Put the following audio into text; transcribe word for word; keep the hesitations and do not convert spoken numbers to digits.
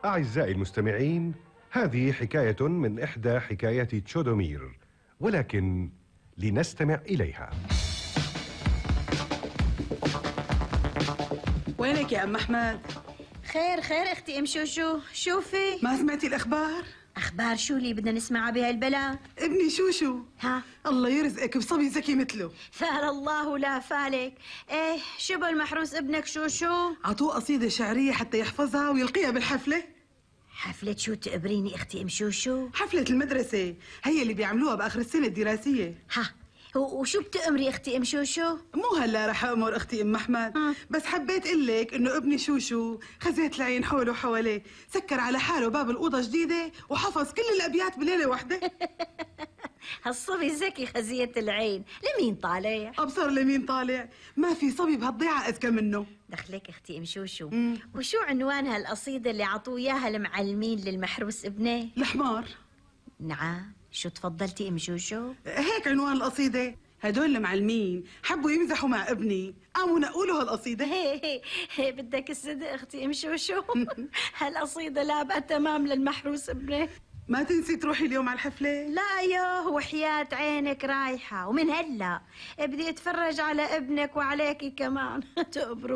أعزائي المستمعين، هذه حكاية من إحدى حكايات تشودومير، ولكن لنستمع إليها. وينك يا أم أحمد؟ خير خير اختي ام شوشو، شوفي. ما سمعتي الأخبار؟ اخبار شو اللي بدنا نسمعها بهالبلد؟ ابني شوشو ها؟ الله يرزقك بصبي ذكي مثله. فال الله لا فالك. ايه شو بالمحروس ابنك شوشو؟ عطوه قصيدة شعرية حتى يحفظها ويلقيها بالحفلة. حفلة شو تقبريني اختي ام شوشو؟ حفلة المدرسة هي اللي بيعملوها بآخر السنة الدراسية. ها وشو بتأمري اختي ام شوشو؟ مو هلا رح أمر اختي ام احمد، ها. بس حبيت قلك انه ابني شوشو خزيت العين حوله وحواليه، سكر على حاله باب الأوضة جديدة وحفظ كل الأبيات بليلة واحدة. هالصبي الذكي خزية العين، لمين طالع؟ أبصر لمين طالع، ما في صبي بهالضيعة أذكى منه. دخلك اختي ام شوشو. مم. وشو عنوان هالقصيدة اللي عطوه اياها المعلمين للمحروس ابنه؟ الحمار. نعم، شو تفضلتي ام شوشو؟ هيك عنوان القصيدة. هدول المعلمين حبوا يمزحوا مع ابني، قاموا نقولوا هالقصيدة. هي هي هي بدك الصدق اختي ام شوشو. هالقصيدة لابقى تمام للمحروس ابنك. ما تنسي تروحي اليوم على الحفلة. لا يا وحياة عينك رايحة، ومن هلا بدي اتفرج على ابنك وعليكي كمان. تقبروا